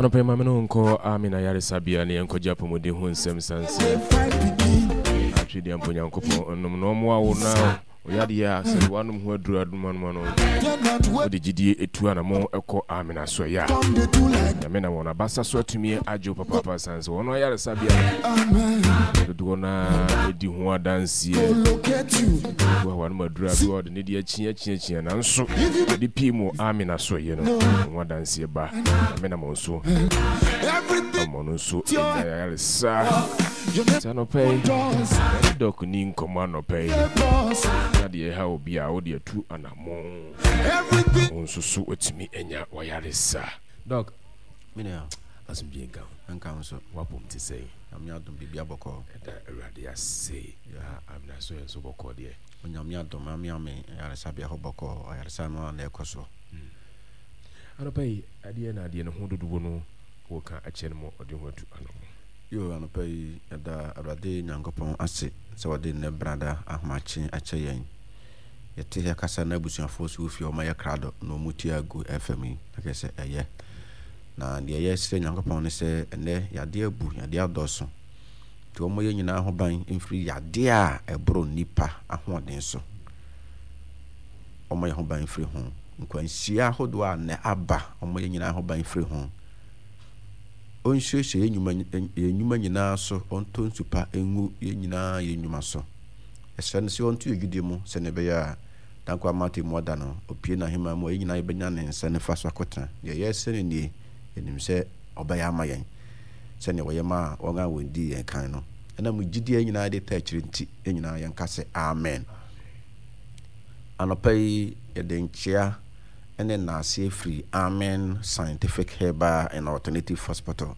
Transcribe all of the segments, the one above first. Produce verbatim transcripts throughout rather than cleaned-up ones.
Anɔpa yi, ma me ne wo nkɔ Amina Yaresabea ne yɛnkɔgye apɔmuden ho nsɛm sane sɛ atwedeɛ mpo Nyankopɔn nom na ɔmmoa wo na ɔyadeɛ a sɛ woanom ho aduru adomanoma no wode gyidie ɛtu anamɔ ɛkɔ Amina so ɛyɛ a Nyame na wɔn abasa so atumi agye wo papaapa sane sɛ wɔn ayaresabea dodoɔ no a ɛdi ho adanseɛ bi wɔ hɔ aduru a bi wɔ ɔde ne deɛ akyi akyi akyi nanso ɛde pii mu Amina so ɛyɛ no ho adanseɛ ba. Nyame nam wɔn so ama ɔno nso anya ayaresa. Nti anɔpa yi yɛne Doc ni nkɔmmɔ anɔpa yi na deɛ ɛha obi a wode atu anammɔn wo nso so watumi anya wayaresa. Doc, Menua, asomdwie nka ho. Nka ho so. Wapom te sɛn? Nyame adom, biribi abɔkɔ. Ɛda Awurade ase. Na Amina so yɛ nso bɔkɔɔ deɛ. Onyame adom, ame ame ayaresabea hɔ bɔkɔɔ, ayaresa no ara na ɛkɔ so. Anɔpa yi, adeɛ na adeɛ no ho dodoɔ no wɔka akyerɛ no ma ɔde ho atu anamɔ. Yo, anɔpa yi, yɛda Awurade Nyankopɔn ase sɛ ɔde nnɛ brada ahomakye akyɛ yɛn. Yɛte ha kasa na abusuafoɔ nso wɔ fie a wɔayɛ krado na wɔretie agu F M yi, na kyerɛ sɛ ɛyɛ. Na deɛ yɛsrɛ Nyankopɔn ne sɛ ɛnnɛ yadeɛ abu, yadeɛ adɔɔso. Nti wɔmmɔ yɛn nyinaa ho ban mfiri yadeɛ a ɛboro nnipa ahoɔden so. Wɔmmɔ yɛn ho ban mfiri ho. Nkwanhyia ahodoɔ a nnɛ aba, wɔmmɔ yɛn nyinaa ho ban mfiri ho. Ɔnsuasua yɛn nnwuma, yɛn nnwuma nyinaa so, ɔntɔ nsu pa ngu yɛn nyinaa yɛn nnwuma so. Yɛsrɛ no sɛ ɔnto yɛn gyidie mu sɛdeɛ ɛbɛyɛ a Dankwa ama atemmu ada no, ɔpue n'ahemman mu a, yɛn nyinaa yɛbɛnya ne nsa nifa so akɔtena. Deɛ yɛresrɛ no nie, yɛnim sɛ ɔbɛyɛ ama yɛn sɛdeɛ ɔyɛ maa wɔn a wɔdii yɛn kan no. Ɛnam gyidie a yɛn nyinaa de taa akyire nti, yɛn nyinaa yɛnka sɛ, Amen. Anɔpa yi, yɛde nkyea ne nnaaseɛ firi Amen Scientific Herbal and Alternative Hospital,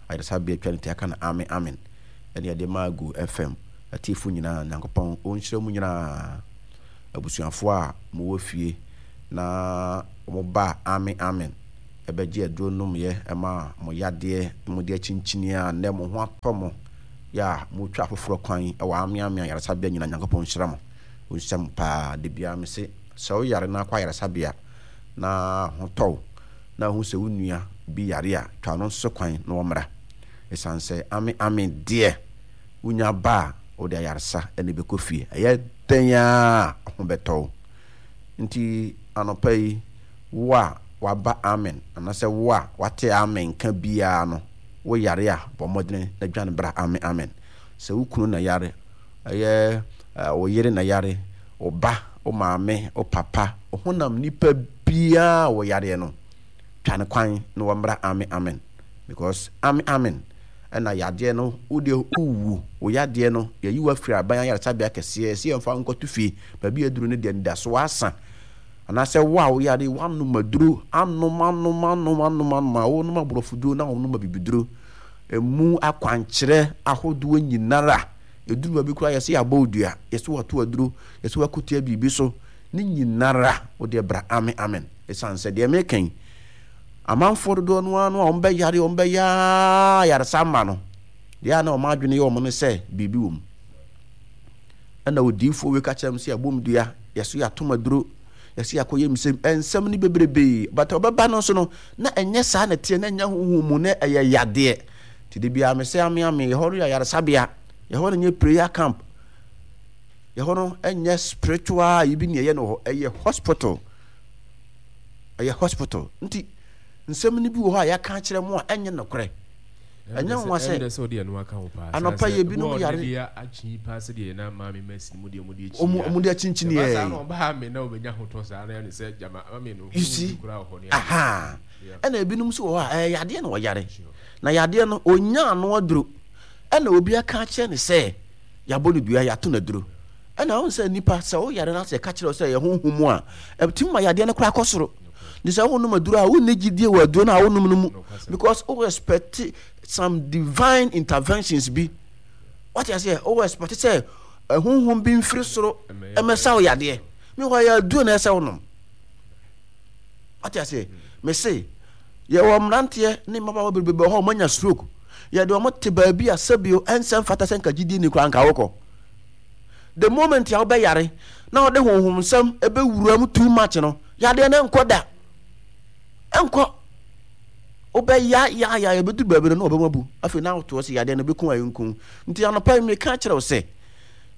ayaresabea atwa ne ti aka no Amen Amen, ɛne yɛde ma Agu F M atiefo nyinaa. Nyankopɔn ɔnhyira mu nyinaa. Abusuafoɔ a mowɔ fie na wɔba Amen Amen ɛbɛgye aduro nomyɛ ma mo yadeɛ, mo de akyinkyini a nnɛ mo ho atɔ mo yɛ a motwa afoforɔ kwan wɔ Amen Amen ayaresabea nyinaa. Nyankopɔn nhyira mo. Ɔnhyira mo paa. Da biara me se sɛ woyare na akɔ ayaresabea na ho tɔ wo na wohu sɛ wo nua bi yare a, twa no nso kwan na wɔmmra. Ɛsiane sɛ Ame Ame deɛ wonya ba a wode ayaresa na ɛbɛkɔ fie. Ɛyɛ dɛn ara a ho bɛtɔ wo. Nti anɔpa yi, wo a waba Amen anaasɛ wo a wate Amen nka biara no, wo yare a, bɔ mmɔdene na dwane bra Amen Amen. Sɛ wo kunu na yare, ɛyɛ wo yere na yare, wo ba, wo maame, wo papa, wo honam nipa biara a wɔyareɛ no, twa ne kwan na wɔmmra Amen Amen. Because Amen Amen ɛna yadeɛ no, wo deɛ wowu, wo yadeɛ no, yɛyi wo afiri aban ayaresabea kɛseɛ, sɛ yɛmfa wo nkɔto fie, baabi a aduru no deɛ anidasoɔ asa. Anaasɛ wo a woyare, woanom aduro, anom, anom, anom, anom, anom, a wonom aborɔfoduro na wonom abibiduro, emu akwankyerɛ ahodoɔ nyinara, ɛduru baabi koraa yɛsɛ yɛabɔ wo dua, yɛsɛ wɔato aduro, yɛsɛ wɔakotua biribi so, ne nyinara wo deɛ bra Amen Amen. Ɛsiane sɛ deɛ meka yi, amanfoɔ dodoɔ no ara no a wɔbɛyare, wɔbɛyɛ ayaresa ama no, deɛ a na wɔn adwene yɛ wɔn no sɛ biribi wɔ mu. Ɛna odiyifoɔ wei ka kyerɛ m sɛ yɛabɔ m dua, yɛso yɛatom aduro, yɛso yɛakɔyɛ nsɛm, nsɛm no bebrebee. But ɔbɛba no nso no, na ɛnyɛ saa na ɛteɛ, na ɛnyɛ honhom mu, na ɛyɛ yadeɛ. Nti de biara me sɛ ame ame, yɛhɔ no yɛ ayaresabea, yɛhɔ no nyɛ prayer camp, yɛhɔ no ɛnyɛ spiritual yi bi ne ɛyɛ no hɔ, ɛyɛ hospital. Ɛyɛ hospital. Nti nsɛm no bi wɔ hɔ a yɛaka akyerɛ mo a ɛnyɛ nokorɛ. Ɛnyɛ nwa sɛ anɔpa yi ebinom yare ɔmo de akyinkyini yɛ you see, aha, ɛna ebinom nso wɔ hɔ a ɛyɛ yadeɛ na ɔyare na yadeɛ no onya ano aduro, ɛna obi aka akyerɛ ne sɛ yɛabɔ no dua, yɛato no aduro. Ɛna ɔn sɛ nipa sɛ woyare no asɛ ka kyerɛ sɛ ɛyɛ honhom mu a, ɛtumi ma yadeɛ no koraa kɔ soro. Ne sɛ wonom aduro a, wonni gyidie wɔ aduro no a wonom no mu because wo expect some divine interventions bi. Wate aseɛ? Wo expect sɛ honhom bi mfiri soro ɛmɛsa wo yadeɛ. Meanwhile yɛ aduro na ɛsɛ wonom. Wate aseɛ? Mese yɛwɔ mmeranteɛ ne mmabaawa bebrebe wɔ hɔ a wɔanya stroke. Yɛde wɔn te baabi a sɛbio ɛnsɛ mfata sɛ nka gyidie ni koraa nka wokɔ. The moment a wobɛyare na wɔde honhom nsɛm ɛbɛwura mu too much no, yadeɛ no ɛnkɔ da. Ɛnkɔ. Wobɛya ya ya yɛbɛduru baabi no na wɔbɛma bu. Afei na wotoɔ sɛ yadeɛ no bɛku a ɛnku. Nti anɔpa yi meka kyerɛ wo sɛ,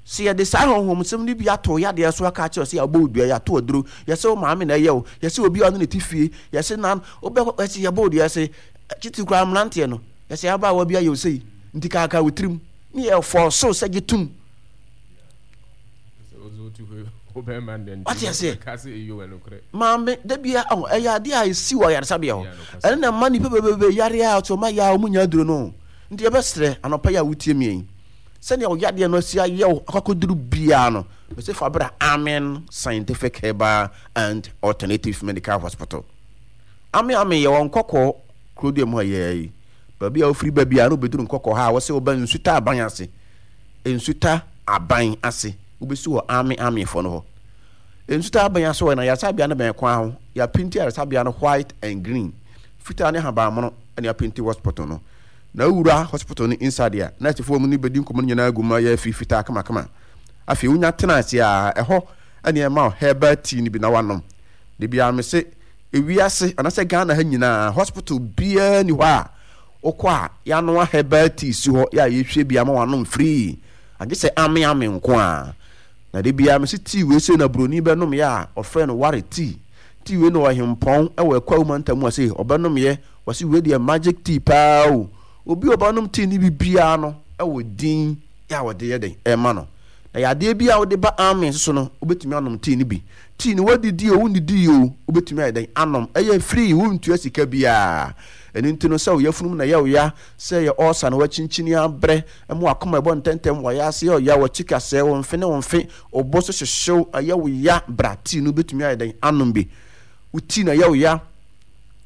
sɛ yɛde saa honhomsɛm no bi ato wo yadeɛ so aka akyerɛ wo sɛ yɛabɔ wo dua, yɛato aduro, yɛsɛ wo maame na ɛyɛ wo, yɛsɛ obi a ɔne ne te fie, yɛsɛ na wobɛkɔ, yɛsɛ yɛbɔ wo dua, yɛsɛ titiri koraa mmeranteɛ no, yɛsɛ abaawa bi ayɛ wo sei, nti kaakaa wo tirim, ne yɛfɔɔso sɛ gye tom. Wate aseɛ? Maame, da bia ɔho, ɛyɛ adeɛ a ɛsi wɔ ayaresabea hɔ. Ɛno na ɛma nnipa bebrebe yare a ɔte ɔma yɛ a wɔn nya aduro no. Nti yɛbɛsrɛ anɔpa yi a wotie me yi, sɛnea wo yadeɛ no asi ayɛ wo akɔkɔduru biara no, mese fa bra Amen Scientific Herbal and Alternative Medical Hospital. Amen Amen yɛwɔ Nkɔkɔɔ kuro dua mu ha yɛɛ yi. Baabi a wofiri ba biara no wobɛduru Nkɔkɔɔ ha a wɔse woba Nsuta aban ase. Nsuta aban ase. Wobɛsi wɔ Ame Amefoɔ no hɔ. Nsuta aban ase hɔ na ayaresabea no bɛn kwan ho. Yɛapinti ayaresabea no white and green. Fitaa ne ahabanmono na yɛapinti hospital no. Na wowura hospital no inside a, nɛɛsefoɔ mu no bɛdi nkɔmmɔ no nyinaa gu mu ayɛ afi fitaa kamakama. Afei wonya tena ase a, ɛhɔ na yɛma wo herbal tea no bi na woanom. Da biara mese, ewiase anaasɛ Ghana ha nyinaa, hospital biara nni hɔ a wokɔ a yɛanoa herbal tea si hɔ yɛ a yɛhwie bi ama woanom free. Agye sɛ ame ame nko ara. Na da biara mese tea wei sei na buroni bɛnomyɛ a ɔfrɛ no ware tea. Tea wei na ɔhempɔn wɔ Akwawu mantam mu ase ɔbɛnomyɛ, wɔse wei deɛ magic tea paa o. Obi a ɔbɛnom tea no bi biara no wɔ din a wɔde yɛ dɛn ɛma no. Na yadeɛ bi a wode ba ame nso so no wobɛtumi anom tea no bi. Tea no woadidi o wonnidii o wobɛtumi ayɛ dɛn anom. Ɛyɛ free wontua sika biara. Ɛno nti no sɛ wo yafunu mu na ɛyɛ wo ya, sɛ ɛyɛ ulcer na woakyinkyini abrɛ, ɛma w'akoma ɛbɔ ntɛntɛm, w'ayaase yɛ ɔya, w'akyi kasɛɛ, wo mfe ne wo mfe, wo bo so hyehyew, ɛyɛ wo ya, bra tea no wobɛtumi ayɛ dɛn anom bi. Wo tea na ɛyɛ wo ya.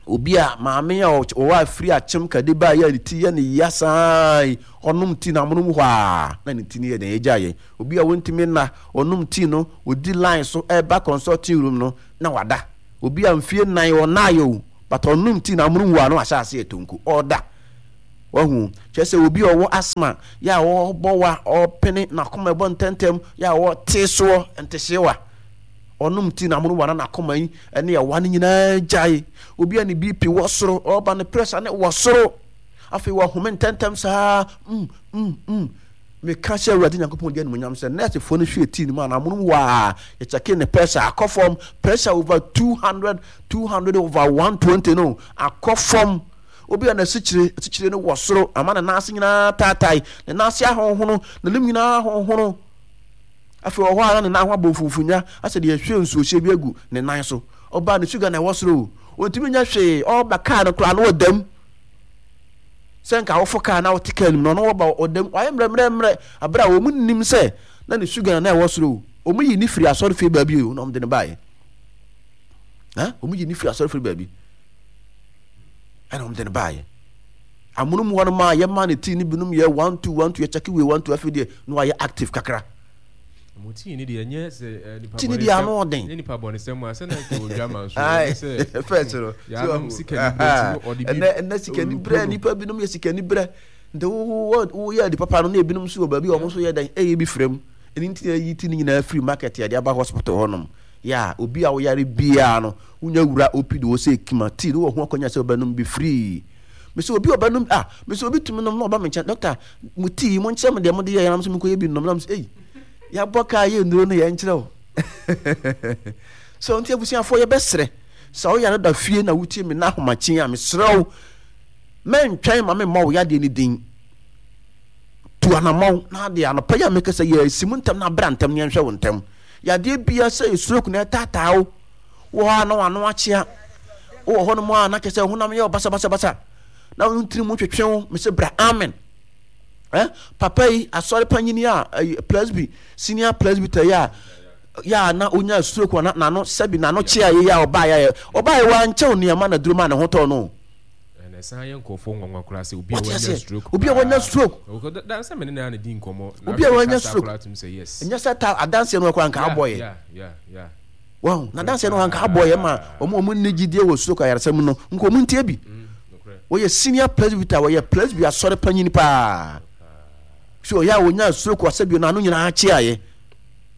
Obi a maame a ɔwɔ afiri akyem kade ba yɛ ne ti yɛ ne ya saa yi, ɔnom tea no amonom hɔ a na ne ti no yɛ dɛn agya yɛ. Obi a wɔntumi nna, ɔnom tea no, ɔdi line so ɛba consulting room no na wada. Obi a mfie nnan ɔnnaeɛ o, but ɔnom tea no amonom hɔ a na wahyɛ ase ɛtonko, ɔda. Wahu? Kyerɛ sɛ obi a ɔwɔ asthma, yɛ a ɔbɔ wa, ɔpene, n'akoma ɛbɔ ntɛntɛm, yɛ a ɔte soɔ, ntehyewa. Ɔnom tea na amonom wa na n'akoma yi ne ɛwa no nyinaa gyae. Obi a ne B P wɔ soro, ɔba ne pressure ne wɔ soro. Afei wahome ntɛntɛm saa, mm, mm, mm. Meka hyɛ Awurade Nyankopɔn di animuonyam sɛ nɛɛsefoɔ no hwɛɛ tea no mu a na amonom hɔ a yɛkyɛkee ne pressure akɔ fam. Pressure over two hundred, two hundred over one twenty no akɔ fam. Obi a n'asikyire, asikyire no wɔ soro ama ne nan ase nyinaa taatae, ne nan ase ahonhono, n'anim nyinaa ahonhono. Afei wɔ hɔ a na ne nan ho abɔ mfumfunya asɛ deɛ yɛhwie nsuohyɛ bi agu ne nan so. Ɔbaa ne sugar na ɛwɔ soro o, ɔntumi nyɛ hwee, ɔreba kaa no koraa na ɔda mu. Sɛ nka wofo kaa na wote kaa no mu no, ɔno ɔba ɔda mu, wayɛ mmerɛmmerɛmmerɛ, abere a wɔn nnim sɛ na ne sugar na ɛwɔ soro o. Wɔn yi ne firi asɔrefie baabi o, na wɔn de no baeɛ. Ha? Wɔn yi ne firi asɔrefie baabi. Ɛna wɔn de no baeɛ. Amonom hɔ no maa yɛmaa ne tii no binom yɛ one two one two yɛkyɛke wei one two afei deɛ na wayɛ active kakra. Mo tii no deɛ ɛnyɛ sɛ eh, nipa Tii no deɛ ano ɔden. Ɛnyɛ nipa bɔnesɛm a sɛ na nka odwa ma nso Aye, ɛnyɛ sɛ first no. Yɛanom sikani berɛ nti no ɔde bi Ɛnɛ ɛnɛ sikani berɛ nipa binom yɛ sikani berɛ nti wo wo woyɛ ade papa no na ebinom nso wɔ baabi a wɔn nso yɛ dɛn ɛyɛ bi frɛ mu ɛno nti na yɛyi ti no nyinaa firi market yɛde aba hospital hɔnom yɛ a obi a woyare biara no wonya wura O P D wɔ sɛ kima tii no wɔ ho akɔnya sɛ wobɛnom bi free. Mesɛ obi a ɔbɛnom ah mesɛ obi tumi nom na ɔba me nkyɛn, doctor, mo tii mo nkyerɛ me deɛ mode yɛ yɛn nso menkɔyɛ bi nom na mesɛ ei yɛabɔ kaa yɛ nnuro no yɛn nkyerɛ wo so. Nti abusuafoɔ yɛbɛsrɛ sɛ woyare da fie na wotie me na ahomakye a, mesrɛ wo mɛntwɛn ma memmɔ wo yadeɛ no din. Tu anammɔn na adeɛ anɔpa yi a meka sɛ yɛasi mu ntɛm na abra ntɛm ne yɛnhwɛ wo ntɛm. Yadeɛ bia sɛ stroke na ɛtaataa wo wɔ hɔ a na wano akyea wowɔ hɔ nom a na kyɛ sɛ honam yɛ basabasabasa na wo ntiri mu twetwe wo, mese bra amen. Eh, papa yi asɔre panyini a eh, presby senior presbyter yi a yɛ a na onya stroke na n'ano sɛbi n'ano kyea yi a ɔbaa yɛ ɔbaa yɛ wankyɛw nneɛma na duro ma ne ho tɔɔ no. Ɛna ɛsan yɛ nkurɔfoɔ nwanwa koraa sɛ obi a wanya stroke. Obi a wanya stroke. Dansa mene na ne di nkɔmmɔ. Obi a wanya stroke. Ɛnyɛ sɛ ta adanseɛ no koraa nka abɔ yɛ. Wɔn na adanseɛ no nka abɔ yɛ ma wɔn wɔn nni gyidie wɔ stroke ayaresa mu no nka wɔn ntie bi. Wɔyɛ senior presbyter, wɔyɛ presby asɔre panyin paa. So ɔyɛ a wɔnya stroke asɛ bio n'ano nyinaa kyeaeɛ.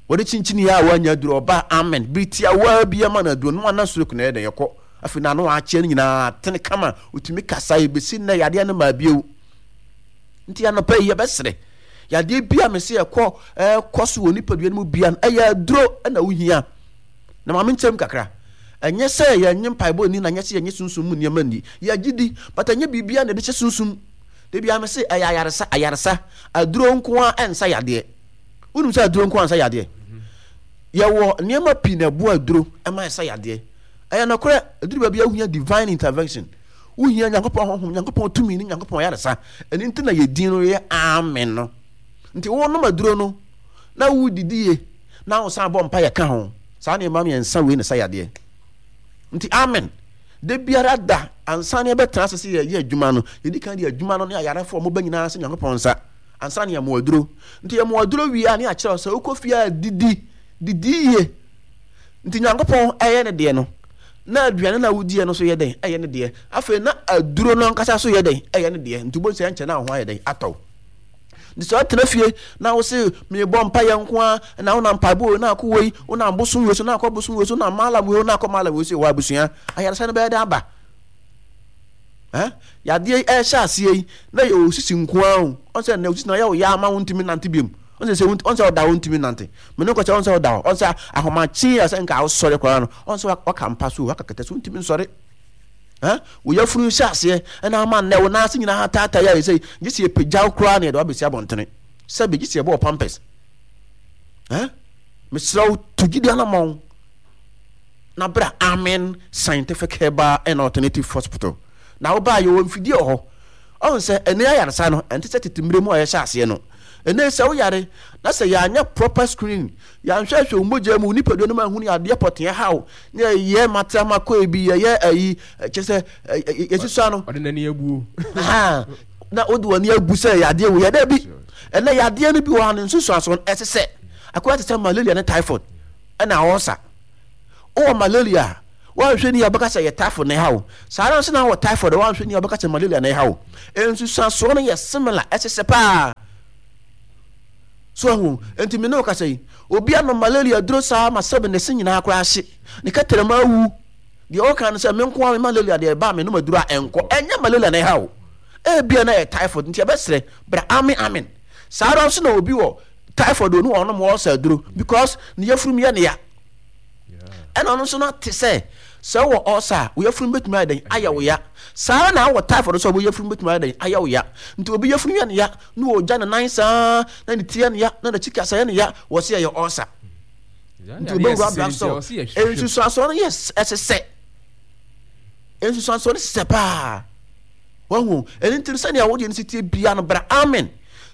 Wɔde kyinkyini yɛ a wɔanya aduro ɔba amen bere tiawa bi ama no aduro no ana stroke na ɛyɛ dɛn ɛkɔ. Afei n'ano akyea no nyinaa atene kama, ɔtumi kasa, ɛbɛsi nnɛ yadeɛ no maa bio. Nti anɔpa yi yɛbɛsrɛ, yadeɛ bi a mese ɛkɔ ɛkɔ so wɔ nipadua no mu bia no, ɛyɛ aduro na wohia. Na ma menkyerɛ mu kakra. Ɛnyɛ sɛ yɛnnye mpaebɔ nni na ɛnyɛ sɛ yɛnnye sunsum mu nneɛma nni. Yɛgye di, but ɛnyɛ biribiara na yɛde hyɛ sunsum. Da biara mese ɛyɛ ayaresa, ayaresa. Aduro nko ara ɛnsa yadeɛ. Wonim sɛ aduro nko ara nsa yadeɛ? Yɛwɔ nneɛma pii na ɛboa aduro ma ɛsa yadeɛ. Ɛyɛ nokorɛ, ɛduru baabi a wohia divine intervention. Wohia Nyankopɔn honhom, Nyankopɔn tumi ne Nyankopɔn ayaresa. Ɛno nti na yɛ din no yɛ Amen no. Nti wonom aduro no na wodidi yie na wosan bɔ mpaeɛ ka ho. Saa nneɛma mmiɛnsa wei na ɛsa yadeɛ. Nti amen. Da biara da ansa na yɛbɛtena ase sɛ yɛyɛ adwuma no, yɛdi kan de adwuma no ne ayarefoɔ a wɔba nyinaa sɛ Nyankopɔn nsa ansa na yɛmoa aduro. Nti yɛmoa aduro wie a ne yɛakyerɛ wo sɛ wokɔ fie a didi, didi yie. Nti Nyankopɔn ɛyɛ ne deɛ no, na aduane no a wodiɛ no nso yɛ dɛn? Ɛyɛ ne deɛ. Afei na aduro no ankasa nso yɛ dɛn? Ɛyɛ ne deɛ. Nti wobɛhu sɛ ɛnkyɛ na wo ho ayɛ dɛn? Atɔ wo. Nti sɛ ɔtena fie na wo se mebɔ mpaeɛ nko ara na wonam mpaebɔ wei na akɔ wei, wonam bosom wei so na akɔ bosom wei so, wonam malam wei na akɔ malam wei so, wɔ abusua ayaresa no bɛyɛ dɛ aba. Eh? Yadeɛ yi ɛhyɛ aseɛ yi na yɛ osisi nko ara o. Ɔn sɛ nnɛ osisi na ɔyɛ wo ya ama wontumi nante biom. Ɔn sɛ sɛ ɔn sɛ ɔda wontumi nante. Me ne kɔkyɛ ɔn sɛ ɔda hɔ. Ɔn sɛ ahomakye a sɛ nka wosɔre koraa no ɔn sɛ waka mpa so waka kɛtɛ so wontumi nsɔre. Eh? Wo yafunu hyɛ aseɛ ɛna ama nnɛ wo nan ase nyinaa ataatae ayɛ sɛ gye sɛ yɛpagya wo koraa na yɛde wo abɛsi abɔntene. Sɛbe gye sɛ yɛbɔ wo pampers. Eh? Mesrɛ wo tu gyidi anammɔn na bra Amen Scientific Herbal and Alternative Hospital. Na wobaa yɛwɔ mfidie wɔ hɔ. Ɔhu sɛ ɛnɛ ayaresa no ɛnte sɛ tete mmerɛ mu a yɛhyɛ aseɛ no. Ɛnɛ sɛ woyare na sɛ yɛanyɛ proper screening, yɛanhwɛhwɛ wo mogya mu, wo nipadua no mu anhunu yadeɛ pɔtee ɛha wo, ne yɛyɛ matrama kɔɛ bi, yɛyɛ ayi, kyɛ sɛ yɛsusua no. Ɔde n'ani abuo. Na wode w'ani abu sɛ yadeɛ wei ɛdɛ bi. Ɛnɛ yadeɛ no bi wɔ ha no nsusuansoɔ no ɛte sɛ akɔyɛ te sɛ malaria ne typhoid ɛna ɔɔsa. Wowɔ malaria a, woanhwɛ ni a wobɛka sɛ ɛyɛ typhoid na ɛha wo. Saa ara nso na wowɔ typhoid a, woanhwɛ ni a wobɛka sɛ malaria na ɛha wo. Nsusuansoɔ no yɛ similar, ɛsesɛ paa. So ahu? Enti me ne wo kasa yi, obi anom malaria aduro saa ma sɛbe ne se nyinaa koraa ahye, ne kɛtrɛma awu. Deɛ ɔka no sɛ, me nko ara me malaria deɛ ɛba a menom aduro a ɛnkɔ. Ɛnyɛ malaria na ɛha wo. Ebia na ɛyɛ typhoid, nti yɛbɛsrɛ, bra amen amen. Saa ara nso na obi wɔ typhoid onu ɔnom ulcer aduro because ne yafunu yɛ ne ya. Ɛna ɔno nso no ate sɛ sɛ wowɔ ulcer a wo yafunu bɛtumi ayɛ dɛn ayɛ wo ya. Saa ara na wowɔ typhoid nso a wo yafunu bɛtumi ayɛ dɛn ayɛ wo ya. Nti obi yafunu yɛ ne ya na ɔgya ne nan saa na ne ti yɛ ne ya na n'akyi kasa yɛ ne ya wɔ se ɛyɛ ulcer. Nti obɛwura drugstore. Nsusuansoɔ no yɛ ɛsesɛ. Nsusuansoɔ no sesɛ paa. Wahu? Ɛno nti no sɛnea wo deɛ no si tie bia no bra amen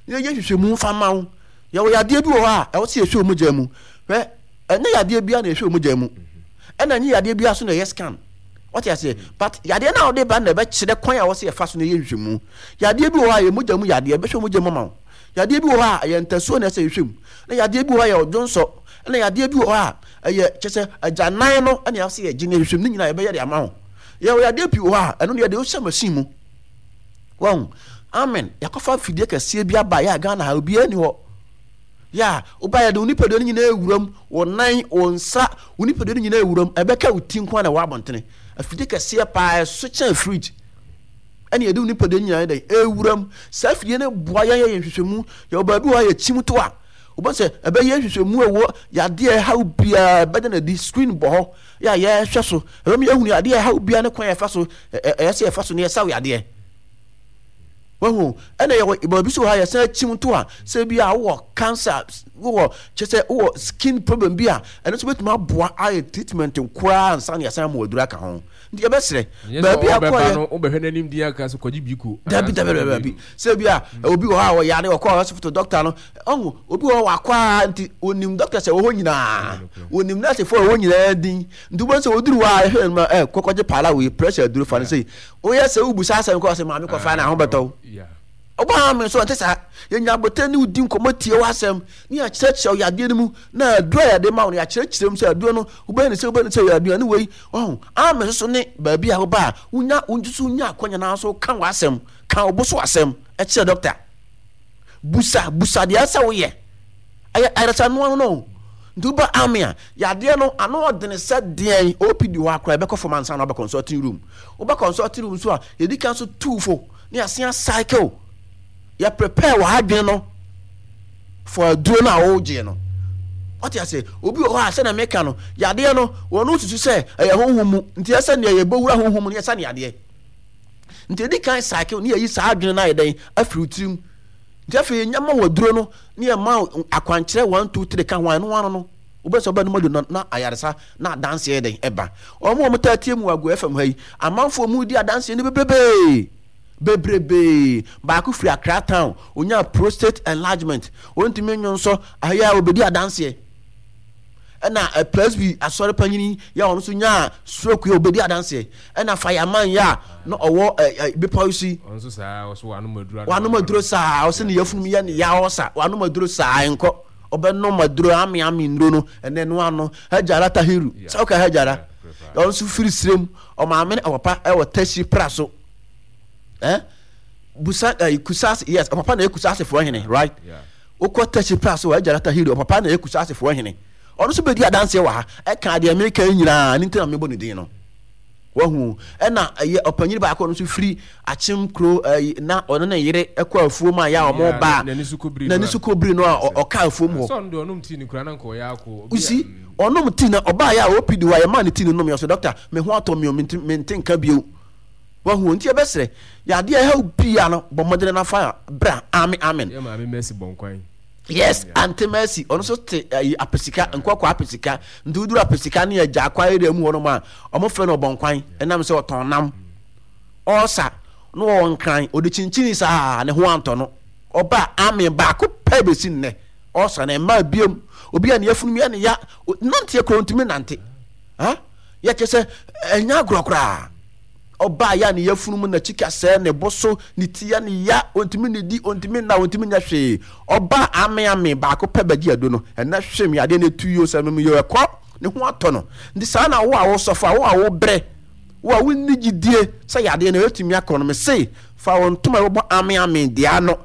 na yɛnyɛ nhwehwɛmu mfa ma wo. Yɛwɔ yadeɛ bi wɔ hɔ a ɛwɔ sɛ yɛhwɛ wo mogya mu. Hwɛ, ɛnyɛ yadeɛ bia na yɛhwɛ wo mogya mu. Ɛna ɛnyɛ yadeɛ bia so na ɛyɛ scan. Wate aseɛ? But yadeɛ no a wode ba no na ɛbɛkyerɛ kwan a ɛwɔ sɛ yɛfa so na yɛyɛ nhwehwɛmu. Yadeɛ bi wɔ hɔ a ɛyɛ mogya mu yadeɛ, ɛbɛhwɛ wo mogya mu ama wo. Yadeɛ bi wɔ hɔ a ɛyɛ ntasuo na ɛsɛ yɛhwɛ mu. Na yadeɛ bi wɔ hɔ a ɛyɛ ɔdwonsɔ. Ɛna yadeɛ bi wɔ hɔ a ɛyɛ kyɛ sɛ agyanan no ɛna ɛwɔ sɛ yɛgye na yɛhwehwɛ mu. Ne nyinaa yɛbɛyɛ de ama wo. Yɛwɔ yadeɛ pii wɔ hɔ a, ɛno deɛ yɛde wo hyɛ machine mu. Wahu? Amen. Yɛakɔfa mfidie kɛseɛ bi aba yɛ a Ghana ha obiara ni hɔ. Yɛ a woba yɛde wo nipadua no nyinaa awura mu, wo nan, wo nsa, wo nipadua no nyinaa awura mu. Ɛbɛka wo ti nko ara na ɛwɔ abɔntene. Afidie kɛseɛ paa ɛso kyɛn fridge. Ɛna yɛde wo nipadua no nyinaa dɛn ɛwura mu. Saa afidie no boa yɛn yɛ nhwehwɛmu. Yɛwɔ baabi wɔ hɔ a yɛkyim to a, wobɛhu sɛ ɛbɛyɛ nhwehwɛmu ɛwɔ yadeɛ a ɛhaw biara ɛbɛda no adi. Screen bɔ hɔ yɛ a yɛhwɛ so. Ɛbɛma yɛahunu yadeɛ a ɛhaw biara ne kwan a yɛfa so ɛyɛ sɛ yɛfa so na yɛsaw yadeɛ. Wahu? Ɛna yɛwɔ baabi so wɔ ha yɛsan akyim to a sɛ bi a wowɔ cancer, wowɔ kyɛ sɛ wowɔ skin problem bi a ɛno nso bɛtumi aboa ayɛ treatment koraa ansa na yɛasan ama aduru aka ho. Nti yɛbɛsrɛ baabi a kɔyɛ no wobɛhwɛ n'anim din aka sɛ kɔgye biko. Dabi dabi dabi dabi. Sɛ bi a obi wɔ hɔ a ɔyare ɔkɔ hospital doctor no ɔhu obi wɔ hɔ wakɔ a nti onim doctor sɛ wɔ hɔ nyinaa onim nurse fo a wɔ nyinaa din nti wobɛhu sɛ wɔduru hɔ a ɛhwɛ no ma ɛ kɔkɔgye paala wei pressure aduro fa no sei woyɛ sɛ wobusa asɛm kɔ sɛ maame kɔfa na ho bɛtɔ wo ɔbaa me nso ɛnte saa yɛnya abotɛ ne wodi nkɔmmɔ tie w'asɛm ne yɛakyerɛkyerɛ wo yadeɛ no mu na aduro a yɛde ma wo no yɛakyerɛkyerɛ mu sɛ aduro no wobɛyɛ ne sɛ wobɛyɛ ne sɛ yɛ aduane wei ɔho ame nso so ne baabi a woba a wonya wo nso nya akwanya na nso ka w'asɛm ka wo bo so asɛm kyerɛ dɔkta busa busa deɛ ɛsɛ woyɛ ɛyɛ ayaresa noa no no Nti woba Army a, yadeɛ no ano ɔdene sɛ deɛn, O P D hɔ akora yɛbɛkɔ fam ansa na waba consulting room. Woba consulting room nso a, yɛdi kan so tu fo ne yɛasen cycle. Yɛ prepare wɔ adwene no for aduro no a wogye no. Wate ase? Obi wɔ hɔ a, sɛnea meka no, yadeɛ no wɔn susu sɛ ɛyɛ honhom mu, nti ɛsɛ nea yɛbɛwura honhom mu no yɛsa ne yadeɛ. Nti yɛdi kan cycle ne yɛyi saa adwene no ayɛ dɛn afiri wo tirim. Nti afei yɛnya ma wɔ aduro no ne yɛma akwankyerɛ one two three ka ho a, ɛno ano no wobɛsɛ ɔbɛ no mu adu na ayaresa na adanseɛ yɛ dɛn ɛba. Wɔn a wɔn taa tie mu wɔ Agoa F M ha yi, amanfoɔ mu di adanseɛ no bebrebee bebrebee. Baako firi Accra town, onyaa prostate enlargement, wɔntumi nwo nso ahɛ a obedi adanseɛ. Ɛna Presby asɔre panyini yɛ a ɔno nso nyaa stroke yɛ obedi adanseɛ. Ɛna fireman yɛ a na ɔwɔ ɛ ɛ bepɔ yi so yi, ɔno nso saa, ɔso wanom aduro, wanom aduro saa, ɔsɛ ne yafunum yɛ ne ya, ɔsa wanom aduro saa nkɔ, ɔbɛnom aduro ame ame nnuro no ɛnɛ no ano. Hajara Tahiru sɛ ɔka Hajara, ɔno nso firi sirem, ɔmaame ne ɔpapa ɛwɔ Tɛsi pra so ɛ busa ɛ Kusase. Yes, ɔpapa na yɛ Kusasefoɔ hene, right? Wokɔ Tɛsi pra so, Hajara Tahiru ɔpapa na yɛ Kusasefoɔ hene. Ɔno nso bɛdi adanseɛ wɔ ha, ɛka deɛ meka yi nyinaa ne nti na mebɔ ne din no. Wahu? Ɛna ɛyɛ ɔpanyin baako, ɔno nso firi Akyem kuro ɛyi, na ɔno ne yere ɛkɔ afuom a yɛ a wɔn ba n'ani so kɔbiri n'ani so kɔbiri no a ɔka afuom hɔ. Sɛ ɔno deɛ ɔnom tii no kura na nka ɔyɛ akɔ. Usi ɔnom tii na ɔbaa yɛ a O P D hɔ a yɛmaa ne tii no nom yɛ ɔsɛ, "Doctor, me ho atɔ me o, mente mente nka bio." Wahu? Nti yɛbɛsrɛ, yadeɛ ɛhaw bia no, bɔ mmɔden na fa bra. Amen, amen. Yɛ maame Mercy bɔ nkwan. Yes, Auntie Mercy, ɔno nso te ayi Apesika, Nkɔkɔ Apesika. Nti woduru Apesika ne agya akwa area mu hɔ nom a, ɔmo frɛ no Ɔbɔnkwan, ɛnam sɛ ɔtɔn nam. Ɔɔsa na ɔwɔ Nkran, ɔde kyinkyini saa ne ho antɔ no. Ɔba amen baako pɛ besi nnɛ. Ɔɔsa na ɛmmaa biom. Obi a ne yafunu mu yɛ ne ya, nanteɛ koraa ontumi nante. Ha? Yɛ kyɛ sɛ ɛnyɛ agorɔ koraa. Ɔbaa yɛ a ne yafunu mu n'akyi kasɛɛ, ne bo so, ne ti yɛ ne ya, ontumi nnidi, ontumi nna, ontumi nyɛ hwee. Ɔbaa ame ame baako pɛ bɛgye adu no, ɛnɛ hwem yadeɛ no etu yoo, sɛ mem yoo ɛkɔ, ne ho atɔ no. Nti saa na wo a wosɔfo a, wo a wobrɛ, wo a wonni gyidie sɛ yadeɛ no ɛtumi akɔ no, mese fa wo ntoma a ɛbɛbɔ ame ame deɛ ano.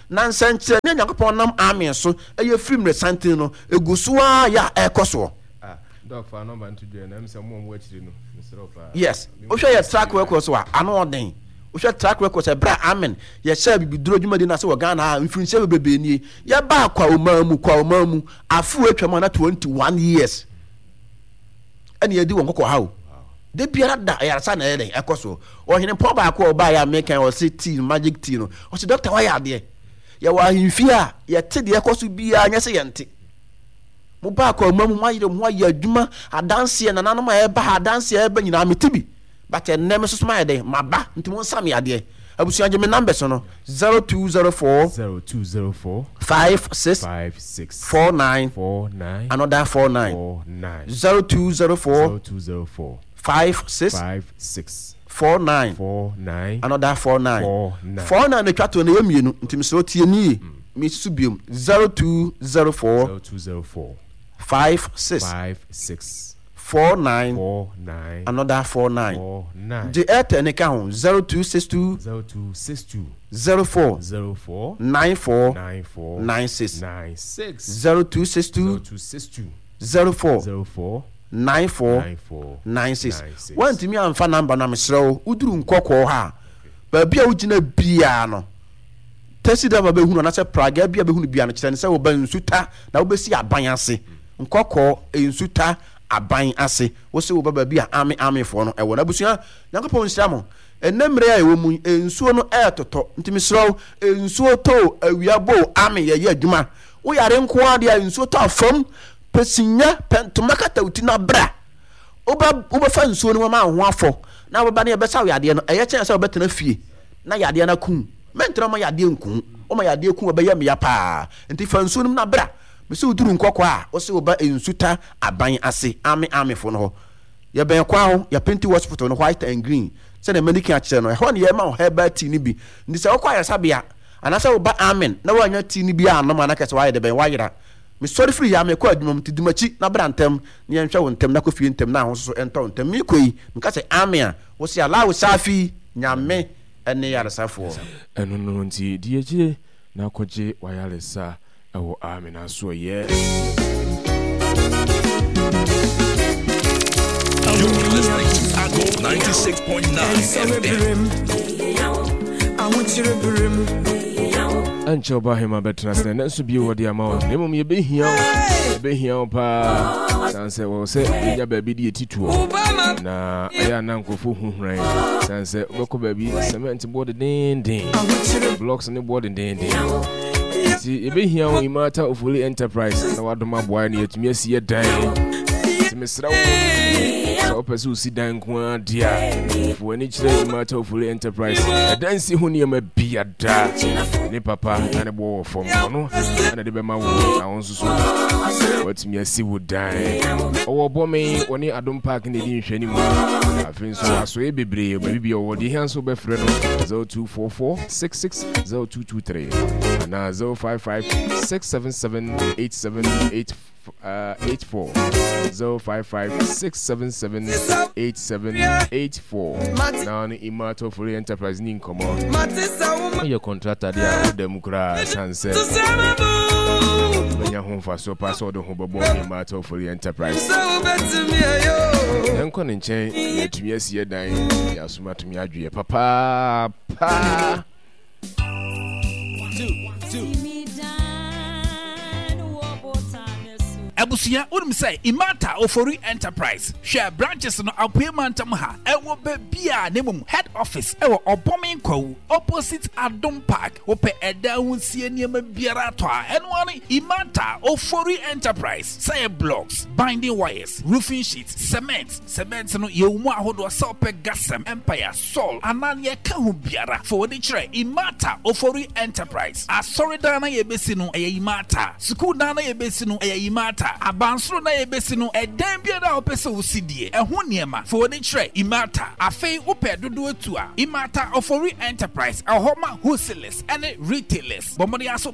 Na nsɛnkyerɛnne a Nyankopɔn nam ame so ɛyɛ firi mmerɛsanten no, egu so ara yɛ a ɛrekɔ soɔ. Ah, Doc, fa number nto dwa na ɛm sɛ mo a mo akyiri no, mesrɛ wo paa. Yes, wohwɛ yɛ track record so a, ano ɔden. Wohwɛ track record sɛ berɛ a amen yɛhyɛɛ bibiduro dwumadi no ase wɔ Ghana ha mfirinhyia bebrebe nie, yɛbaa kwa ɔman mu, kwa ɔman mu afe wɔ atwam a na twenty-one years ɛne yɛdi wɔn kɔkɔ ha o. Da biara da ayaresa na ɛyɛ dɛn ɛkɔ so. Ɔhene pɔn baako a ɔbaeɛ a mekan, ɔse tea no, magic tea no, ɔse, "Doctor, wayɛ adeɛ. Yɛwɔ ahemfie a yɛte deɛ ɛkɔ so biara, nyɛ sɛ yɛnte. Mo ba akɔ mu, mo ayere mo ho ayɛ adwuma, adanseɛ nananom a ɛba ha, adanseɛ a ɛba nyinaa mete bi, but ɛnnɛ me soso mayɛ dɛn maba, nti mo nsa me adeɛ." Abusua, gye me numbers no: zero two zero four zero two zero four five six five six four nine four nine another four nine four nine zero two zero four zero two zero four five six five six four nine four nine another four nine four nine four nine na atwa to no, ɛyɛ mmienu, nti mesrɛ wo tie nie, mesusu biom: zero two zero four zero two zero four five six five six four nine four nine another four nine. four nine. Gye Airtel ne ka ho: zero two six two zero two six two zero four zero four nine four nine four nine six nine six zero two six two zero two six two zero four zero four nine four nine four nine six. Nine six. Woantumi amfa number no a, mesrɛ wo, woduru Nkɔkɔɔ ha a, baabi a wogyina biara no, taxi driver bɛhunu anaasɛ praga bi a bɛhunu biara no, kyerɛ no sɛ woba Nsuta na wobɛsi aban ase. Nkɔkɔɔ Nsuta aban ase, wo sɛ woba baabi a ame amefoɔ no ɛwɔ no. Abusua, Nyankopɔn nhyira mo. Ɛnɛ mmerɛ a ɛwɔ mu yi, nsuo no ɛɛtotɔ, nti mesrɛ wo, nsuo tɔ o, awia bɔ o, ame yɛyɛ adwuma. Woyare nko ara deɛ a, nsuo tɔ afam, pɛ sinya, pɛ ntoma kata wo ti na bra. Woba wobɛfa nsuo no mu ama wo ho afɔ na wobɛba ne yɛbɛsa wo yadeɛ no, ɛyɛ kyɛn sɛ wobɛtena fie na yadeɛ no aku. Mɛntena ma yadeɛ nku woma yadeɛ ku, wɔbɛyɛ mmea paa. Nti fa nsuo no mu na bra. Mesɛ woduru Nkɔkɔ a, wo sɛ woba Nsuta aban ase, ame amefoɔ no hɔ. Yɛbɛn kwan ho, yɛapenti hospital no white and green sɛdeɛ mani ka akyerɛ no. Ɛhɔ ne yɛma wo herbal tea no bi. Nti sɛ wokɔ ayaresabea anaasɛ woba amen na woanya tea no bi anom a, na kɛ sɛ woayɛ de bɛn woayera. Mesɔre firi ha mekɔ adwuma mu, nti di m'akyi na bra ntɛm na yɛnhwɛ wo ntɛm na kɔ fie ntɛm na ahososo ɛntɔ wo ntɛm. Mekɔ yi, meka sɛ amen a, wo se Allahu Safi, Nyame ne yaresafoɔ. Ɛno no nti di akyire na kɔgye w'ayaresa ɛwɔ amen asoɛyɛ. You're listening to Adom ninety-six point nine F M. Ɛnkyɛ ɔba hema bɛtena sɛ ɛnɛ nso bio wɔde ama wo, na mmom yɛbɛhia wo, yɛbɛhia wo paa, sane sɛ wɔwɔ sɛ yɛnya baabi de yɛtitoɔ na ɛyɛ ana nkurɔfoɔ huhuran, sane sɛ wobɛkɔ baabi, cement boɔ dedenden, blocks ne boɔ dedenden, nti yɛbɛhia wo, Imata Ofoli Enterprise, na wadom aboa ne yɛatumi asi yɛ dan. Nti mesrɛ wo sɛ wopɛ sɛ wosi dan nko ara deɛ a, fo w'ani kyerɛ Imata Ofoli Enterprise. Ɛdan si ho nneɛma biada ne papa na ne boɔ wɔ fam, ɔno ɛna de bɛma wo na wo nso so watumi asi wo dan. Ɔwɔ bɔme, wɔne Adom Park na ɛdi nhwɛ no mu. Afei nso asɔeɛ bebree baabi bi ɔwɔ deɛ hia nso wobɛfrɛ no zero two four four six six zero two two three anaa zero five five six seven seven eight seven eight uh, eight four, zero five five six seven seven eight seven eight four na ne Imato Ofori Enterprise ni nkɔmmɔ. Woyɛ contractor deɛ a, woda mu koraa, sane sɛ wobɛnya ho mfasoɔ paa sɛ wode ho bɛbɔ Imato Ofori Enterprise. Yɛnkɔ ne nkyɛn, yɛatumi asi yɛ dan, yɛasom atumi adweɛ papaapa. Two, two. Abusua, wonim sɛ Imata Ofori Enterprise, hwɛ branches no apoe mantam ha ɛwɔ baabi a, na mmom head office ɛwɔ Ɔbɔme Nkwawu, opposite Adom Park. Wopɛ ɛdan ho sie nneɛma biara atɔ a, ɛno ara ne Imata Ofori Enterprise, sɛ yɛ blocks, binding wires, roofing sheets, cement. Cement no yɛwɔ mu ahodoɔ, sɛ wopɛ Gasem, Empire, Sol anaa nea ɛka ho biara, fa wɔde kyerɛ Imata Ofori Enterprise. Asɔredan na yɛbɛsi no, ɛyɛ Imata. Sukuu dan na yɛbɛsi no, ɛyɛ Imata. Abansoro na yɛbɛsi no, ɛdan biara a wopɛ sɛ wosi die ɛho nneɛma, fa wɔde kyerɛ Imata. Afei wopɛ dodoɔ tu a, Imata Ofori Enterprise ɛwɔ hɔ ma wholesalers ɛne retailers. Bɔ mmɔden aso.